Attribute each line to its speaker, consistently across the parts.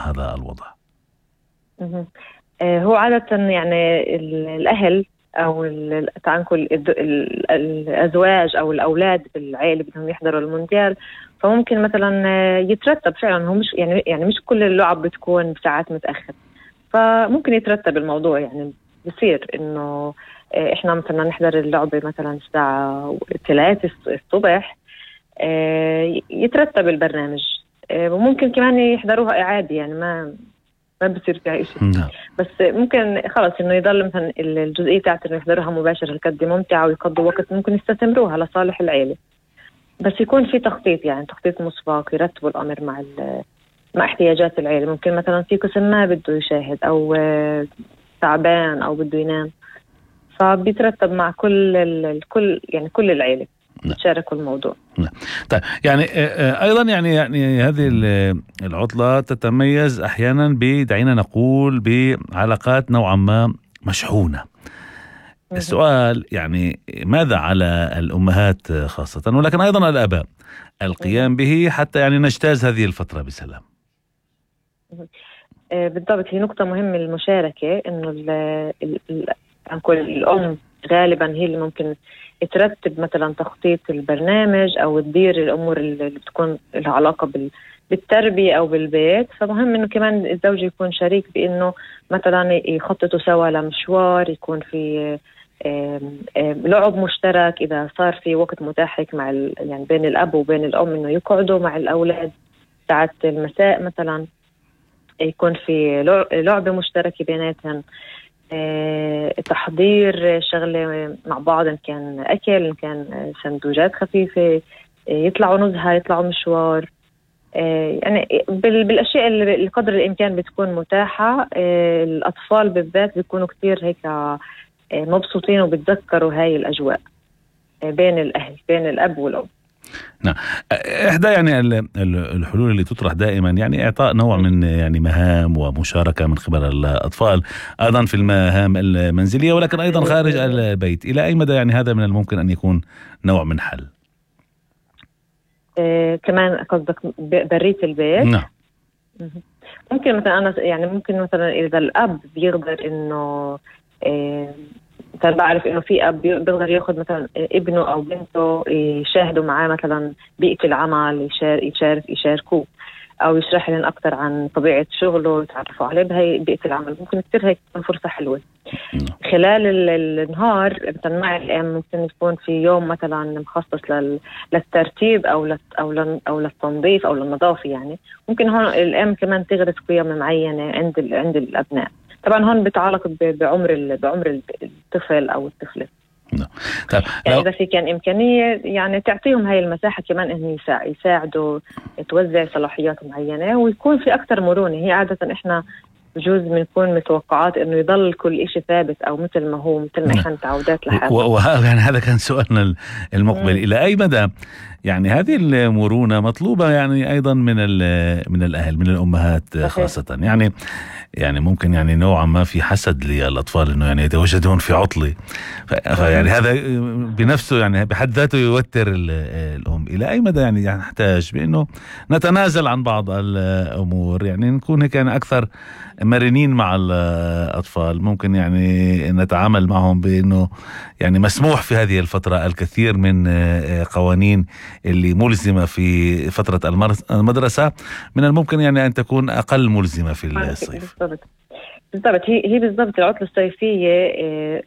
Speaker 1: هذا الوضع؟
Speaker 2: هو عادة يعني الأهل أو تعال نقول الأزواج أو الأولاد بالعائلة بدهم يحضروا المونديال، فممكن مثلا يترتب فعلا. هو مش يعني مش كل اللعب بتكون ساعات متأخر، فممكن يترتب الموضوع. يعني بصير إنه إحنا مثلا نحضر اللعبة مثلا الساعة 3 الصبح، يترتب البرنامج، وممكن كمان يحضروها إعادة، يعني ما بصير فيها إشي. بس ممكن خلص إنه يضل مثلا الجزئية تاعت إنه يحضروها مباشرة هالقد ممتعة ويقضوا وقت، ممكن يستثمروها لصالح العيلة، بس يكون في تخطيط، يعني تخطيط مسبق، يرتبوا الأمر مع احتياجات العيلة. ممكن مثلا في قسم ما بده يشاهد أو تعبان أو بده ينام، فبيترتب مع كل العيلة تشاركوا الموضوع.
Speaker 1: طيب يعني أيضا يعني هذه العطلة تتميز أحيانا دعينا نقول بعلاقات نوعا ما مشحونة. السؤال يعني ماذا على الأمهات خاصة ولكن أيضا الآباء القيام به حتى يعني نجتاز هذه الفترة بسلام؟
Speaker 2: بالضبط، هي نقطة مهمة المشاركة، إنه الأم غالبا هي اللي ممكن ترتب مثلا تخطيط البرنامج أو تدير الأمور اللي بتكون لها علاقة بالتربية أو بالبيت. فمهم إنه كمان الزوج يكون شريك، بإنه مثلا يخططوا سوا لمشوار، يكون في لعب مشترك، إذا صار في وقت متاح مع يعني بين الأب وبين الأم إنه يقعدوا مع الأولاد ساعة المساء مثلا، يكون في لعبة مشتركة بيناتهم، تحضير شغلة مع بعض، إن كان أكل، إن كان سندوجات خفيفة، يطلعوا نزهة، يطلعوا مشوار، يعني بالأشياء اللي قدر الإمكان بتكون متاحة. الأطفال بالذات بيكونوا كتير هيك مبسوطين وبتذكروا هاي الأجواء بين الأهل، بين الأب والأم.
Speaker 1: نعم. إحدى يعني الحلول اللي تطرح دائما يعني إعطاء نوع من يعني مهام ومشاركة من قبل الأطفال أيضا في المهام المنزلية ولكن أيضا خارج البيت. إلى أي مدى يعني هذا من الممكن أن يكون نوع من حل؟
Speaker 2: كمان قصدك برية البيت؟
Speaker 1: نعم.
Speaker 2: ممكن مثلا أنا يعني ممكن مثلا إذا الأب بيقدر إنه مثلا بعرف إنه في أب بيقدر ياخد مثلا ابنه أو بنته يشاهدوا معاه مثلا بيئة العمل، يشاركوه أو يشرح لهم أكتر عن طبيعة شغله، يتعرفوا عليه بهاي بيئة العمل. ممكن كتير هيك تكون فرصة حلوة. خلال النهار مثلا مع الأم ممكن يكون في يوم مثلا مخصص للترتيب أو للتنظيف أو للنظافة. يعني ممكن هون الأم كمان تغرس قيم معينة عند الأبناء. طبعا هون بتعلق بعمر الطفل أو الطفلة.
Speaker 1: طيب
Speaker 2: يعني إذا في كان إمكانية يعني تعطيهم هاي المساحة كمان إنه يساعدوا، توزع صلاحيات معينة ويكون في أكتر مرونة. هي عادة إحنا بجوز بنكون متوقعات إنه يضل كل إشي ثابت أو مثل ما هو، مثل ما إحنا متعودات لحالنا.
Speaker 1: يعني هذا كان سؤالنا المقبل. إلى أي مدى يعني هذه المرونة مطلوبة يعني أيضا من الأهل، من الأمهات خاصة؟ يعني ممكن يعني نوعا ما في حسد للأطفال إنه يعني يتواجدون في عطلة، فيعني هذا بنفسه يعني بحد ذاته يوتر الأم. إلى أي مدى يعني نحتاج بأنه نتنازل عن بعض الأمور، يعني نكون هيك يعني أكثر مرنين مع الأطفال، ممكن يعني نتعامل معهم بأنه يعني مسموح في هذه الفترة الكثير من قوانين اللي ملزمة في فترة المدرسة، من الممكن يعني أن تكون أقل ملزمة في الصيف.
Speaker 2: بالضبط. هي بالضبط العطلة الصيفية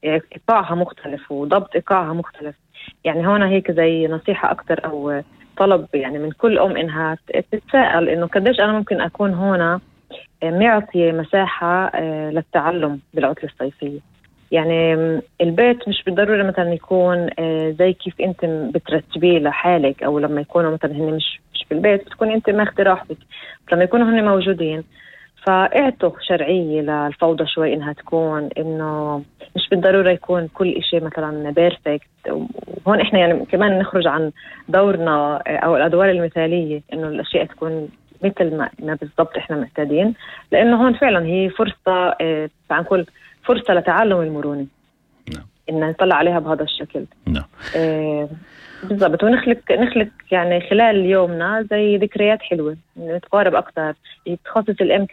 Speaker 2: إيقاعها مختلف وضبط إيقاعها مختلف. يعني هون هيك زي نصيحة أكتر أو طلب يعني من كل أم إنها تتساءل إنه قديش أنا ممكن أكون هنا معطية مساحة للتعلم بالعطلة الصيفية. يعني البيت مش بالضرورة مثلا يكون زي كيف أنت بترتبيه لحالك، أو لما يكونوا مثلا هن مش في البيت بتكون أنت ماخذ راحتك، لما يكونوا هن موجودين فاعطوا شرعية للفوضى شوي إنها تكون، إنه مش بالضرورة يكون كل إشي مثلا بيرفكت. وهون إحنا يعني كمان نخرج عن دورنا أو الأدوار المثالية، إنه الأشياء تكون مثل ما بالضبط إحنا معتادين، لأنه هون فعلا هي فرصة نقول فرصة لتعلم المرونة، إن نطلع عليها بهذا الشكل. بالضبط. ونخلق يعني خلال يومنا زي ذكريات حلوة، نتقارب أكتر، تخصص الأم